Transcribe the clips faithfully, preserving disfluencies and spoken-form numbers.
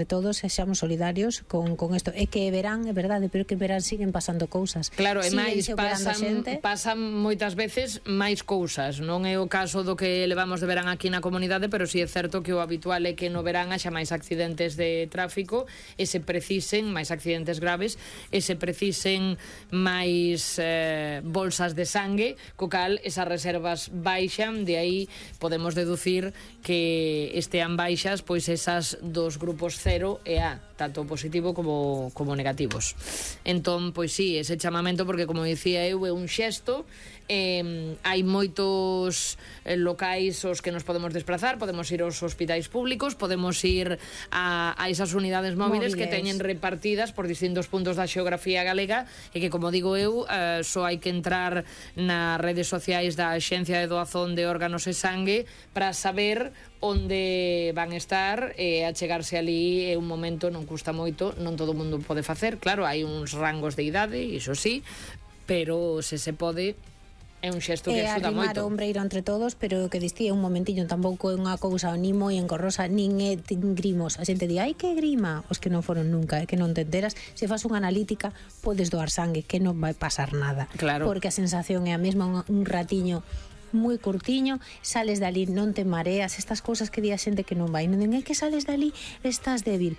de todos sexamos solidarios con, con isto. É que verán, é verdade, pero que verán siguen pasando cousas. Claro, e máis pasan, pasan moitas veces máis cousas. Non é o caso do que levamos de verán aquí na comunidade, pero si sí é certo que o habitual é que no verán haxa máis accidentes de tráfico e se precisen máis accidentes graves e se precisen máis eh, bolsas de sangue, co cal esas reservas baixan, de aí podemos deducir que estean baixas pois esas dos grupos cero e A, tanto positivo como, como negativos. Entón, pois sí, ese chamamento, porque como dicía eu, é un xesto. Eh, hai moitos eh, locais aos que nos podemos desplazar, podemos ir aos hospitais públicos, podemos ir a, a esas unidades móviles, móviles que teñen repartidas por distintos puntos da xeografía galega e que, como digo eu, eh, só hai que entrar nas redes sociais da Axencia de Doazón de Órganos e Sangue para saber onde van estar e a chegarse ali é un momento, non custa moito, non todo o mundo pode facer, claro, hai uns rangos de idade, iso sí, pero se se pode é un xesto que axuda moito. É arrimar o ombreiro entre todos, pero que distía un momentiño, tampouco é unha cousa ni moi engorrosa, nin é grimos. A xente di, ai que grima, os que non foron nunca, é que non te enteras. Se fas unha analítica, podes doar sangue, que non vai pasar nada. Claro. Porque a sensación é a mesma, un, un ratiño moi curtiño, sales dali, non te mareas, estas cousas que di a xente que non vai, non é que sales dali, estás débil.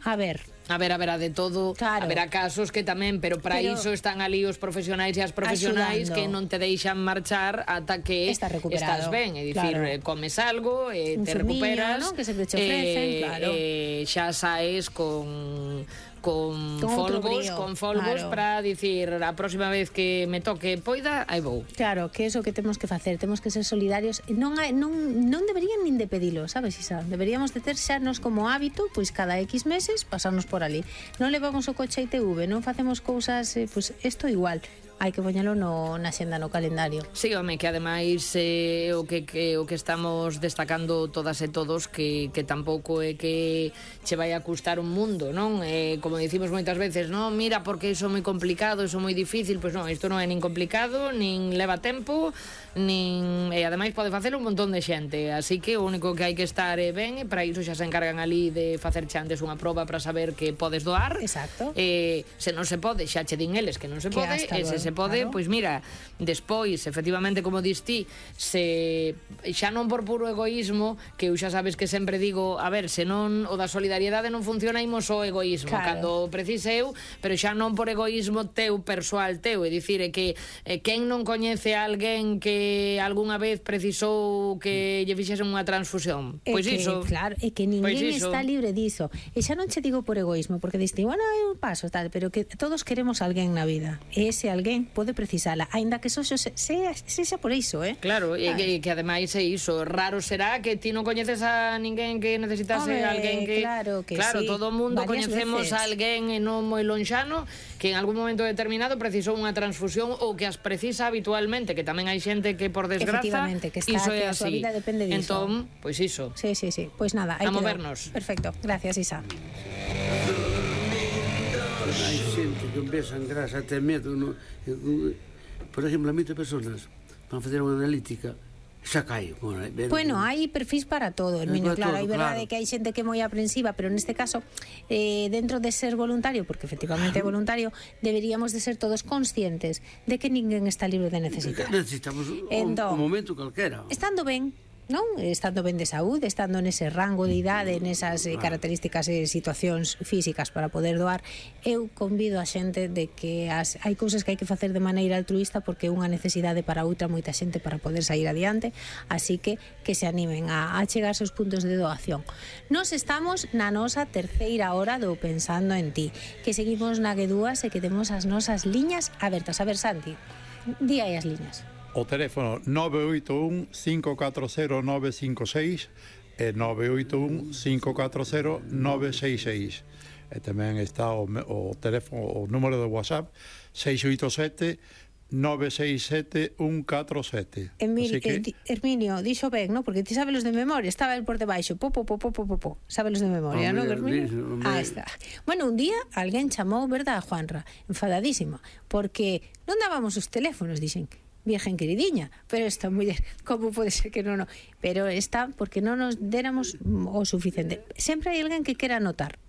A ver, A ver, haberá de todo, claro. Haberá casos que tamén, pero para pero iso están ali os profesionais e as profesionais axudando, que non te deixan marchar ata que estás ben, é dicir, claro. Comes algo, e te recuperas, ¿no? Que se te ofrecen, eh, claro. eh, xa saes con con folgos, con folgos, claro. Para dicir a próxima vez que me toque poida, aí vou. Claro, que é iso que temos que facer, temos que ser solidarios, non hai, non non deberían nin de pedilo, sabes, Isa? Deberíamos de ter xanos como hábito, pois cada X meses pasarnos por ali. Non levamos o coche a I T V, non facemos cousas, eh, pois isto igual. Hai que poñelo no, na xenda, no calendario. Sí, home, que ademais eh, o que, que o que estamos destacando todas e todos que, que tampouco é que che vai a custar un mundo, non? Eh, como dicimos moitas veces, non, mira, porque iso é moi complicado, iso é moi difícil, pois non, isto non é nin complicado, nin leva tempo, nin e ademais pode facer un montón de xente, así que o único que hai que estar é ben, e para iso xa se encargan ali de facer antes unha proba para saber que podes doar. Exacto. Eh, se non se pode, xa che din eles que non se pode, e se se pode, claro. Pois mira, despois, efectivamente, como dis ti, se xa non por puro egoísmo, que eu xa sabes que sempre digo, a ver, se non o da solidariedade non funciona, imos o egoísmo, claro. Cando precise eu, pero xa non por egoísmo teu, persoal teu, é dicir, é que eh, quen non coñece a alguén que algunha vez precisou que lle fixesen unha transfusión? Pois que, iso. Claro, é que ninguén está libre diso. E xa non che digo por egoísmo, porque diste, bueno, eu paso, tal, pero que todos queremos alguén na vida. E ese alguén pode precisala, aínda que eso se, se, se xa por iso, eh? Claro, e que, que ademais é iso, raro será que ti non coñeces a ninguén que necesitase Hombre, alguén que... Claro, que claro, sí. Todo o mundo varias coñecemos veces. A alguén e non moi lonxano que en algún momento determinado precisou unha transfusión ou que as precisa habitualmente, que tamén hai xente que por desgraza que está, iso que é a súa así. vida depende diso. Entón, pois iso. Sí, sí, sí. Pois nada, hai a que movernos. Dar. Perfecto. Gracias, Isa. Hai xente que empesan grasa até medo, no? Por exemplo, a moitas personas van facer unha analítica, xa cae. Bueno, bueno, hai perfis para todo, Herminio, claro, hai verdade claro. Que hai xente que é moi aprensiva, pero neste caso eh, dentro de ser voluntario, porque efectivamente é voluntario, deberíamos de ser todos conscientes de que ninguén está libre de necesitar. Necesitamos entón, un momento calquera. Estando ben, non? Estando ben de saúde, estando nese rango de idade, nesas eh, características e situacións físicas para poder doar, eu convido a xente de que as, hai cousas que hai que facer de maneira altruista porque é unha necesidade para outra moita xente para poder sair adiante, así que que se animen a, a chegar aos puntos de doación. Nos estamos na nosa terceira hora do Pensando en Ti, que seguimos na G dúas e que temos as nosas liñas abertas. A ver, Santi, di aí as liñas. O teléfono nove oito un, cinco catro cero, nove cinco seis e nove oito un, cinco catro cero, nove seis seis. E tamén está o, o teléfono, o número de WhatsApp seis oito sete, nove seis sete, un catro sete. Emil, que... eh, Herminio, dixo ben, ¿no? Porque ti sabes los de memoria, estaba el por debaixo, po, po, po, po, po, po. Sabes los de memoria, ¿no, Herminio? Ah, está. Bueno, un día alguén chamou, verdad, a Juanra, enfadadísima, porque non dábamos os teléfonos, dixen, Virgen queridiña, pero esta muller, como pode ser que non, no? Pero está porque non nos déramos o suficiente. Sempre hai alguén que quera anotar,